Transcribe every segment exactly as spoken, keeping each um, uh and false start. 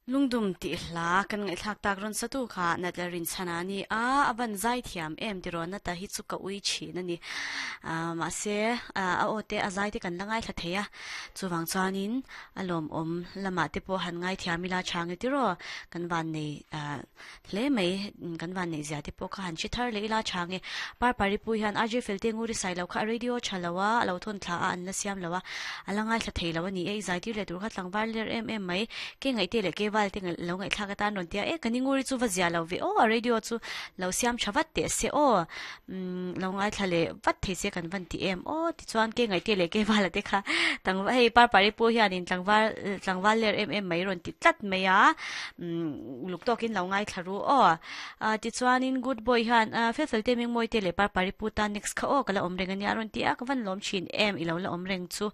Lungdum ti hla kan ngai thlak tak ron satu kha natlarin chana ni a avan zai thiam em ti ron na ta hi chu ka ui thin ani a ma se a o te a zai te kan langai thla theia chuwang chuanin alom om lama te po han ngai thiam ila change ti ro kan van nei a hle mai kan van nei zia te po kha han chi thar le ila change par pari pu hian aj felte nguri sai lo kha radio chalawa lo thon thla a an la siam lawa alangai thla theilo ani e zai ti le tur kha tlangwar ler em em mai ke ngai te le ke wal te lo ngai thla ka tan ron tia e kani nguri chu va zia lo ve o radio chu lo siam thawat te se o lo ngai thla le vat thei se kan van ti em o ti chuan ke ngai te le ke wal te kha tang hei par pari pu hian in tlangwal tlangwal ler em em mai ron ti tlat mai a luk tokin lo ngai thla ru o ti chuan in good boy hian fel fel te ming moi te le par pari pu ta next kha o kala om reng ani aron ti a ka van lom thin em i lo la om reng chu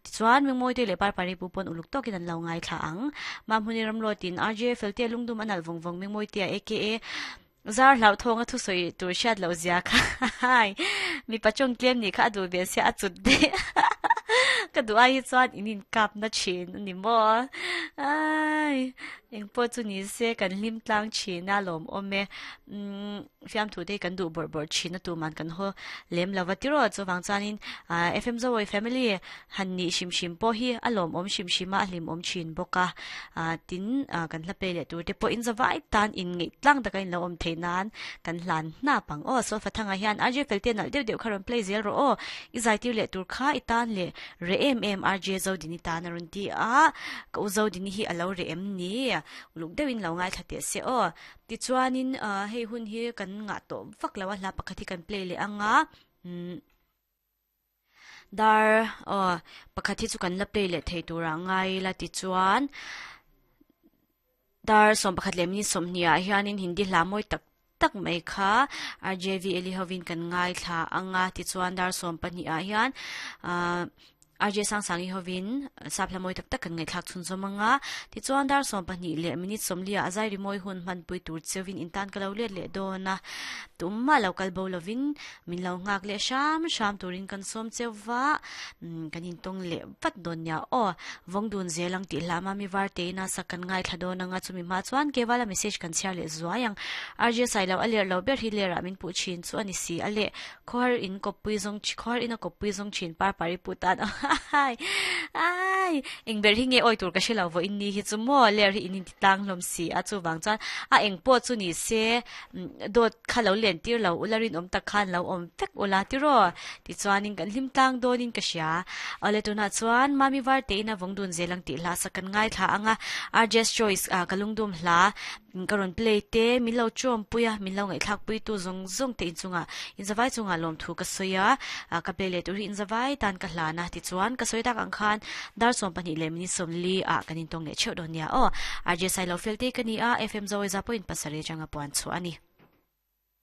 ti chuan ming moi te le par pari pu pon uluk tokin an lo ngai thla ang ma hmuni ram lo tin R J felte lungdum anal vong vong ming moi te aka zar hlau thonga thu soi tur shat lo zia kha hai mi pachong tlem ni kha adu be se achut de ka du ai chuan inin kap na chin ni mo ai eng po chu ni se kan hlim tlang china lom ome um fiam thu te kan du bor bor china tu man kan ho lem lawa tiro chu wang chuanin F M Zowoi family han ni shim shim po hi alom om shim shima hlim om chin boka tin kan hla pe le tur te po in zawai tan in ngi tlang taka in lo om theinan kan hlan na pang o so fathanga hian R J felte nal deuh deuh kharon play zel ro o i zai tir le tur kha i tan le re em em R J zo dini tan arun ti a ka u zo dini hi alo re em ni uluk deuhin lo ngai thate se o ti chuanin hei hun hi kan nga to vak lawa hla pakhat hi kan play le anga dar o pakhat hi chu kan la play le thei tura ngai la ti chuan dar som pakhat le mi somnia hianin hindi hla moi tak tak mai kha R J V Eli hovin kan ngai thla anga ti chuan dar som pahnih ah hian R J sang sangi hovin sapla moi tak tak kan ngai thlak chun zomanga ti chuan dar som pahnih le minute somlia azai ri moi hun man pui tur chewin intan kalo le le dona tumma local bo lovin min lo ngak le sham sham turin kan som chewa kan in tong le vat don nya o vongdun zelang ti lama mi war te na sakan ngai thladona nga chumi ma chuan kewala message kan share le zuayang R J sailo aler lo ber hi le ramin pu chin chu ani si ale khor in kopui zong khor in a kopui zong chin par pari putan ai ai eng ber hi nge oi tur ka shelo vo in ni hi chu mo ler hi in ti tang lom si a chu wang chuan a eng po chu ni se dot khalo len tir lo ularin om tak khan lo om vek ula ti ro ti chuanin kan hlim tlang donin ka sia ale tuna chuan mami war te ina vongdun zelang ti hla sakan ngai thla anga R J choice a kalungdum hla karon play te min lo chom puya min lo ngai thlak pui tu zong zong te in chunga in zawai chunga lom thu ka soya ka play le tur hi in zawai tan ka hla na ti chuan ka soi tak ang khan dar som pahnih le minute som li a kanin tong le cheu donia o R J sai lo felte kani a F M Zowoi za point pasare changa puan chu ani.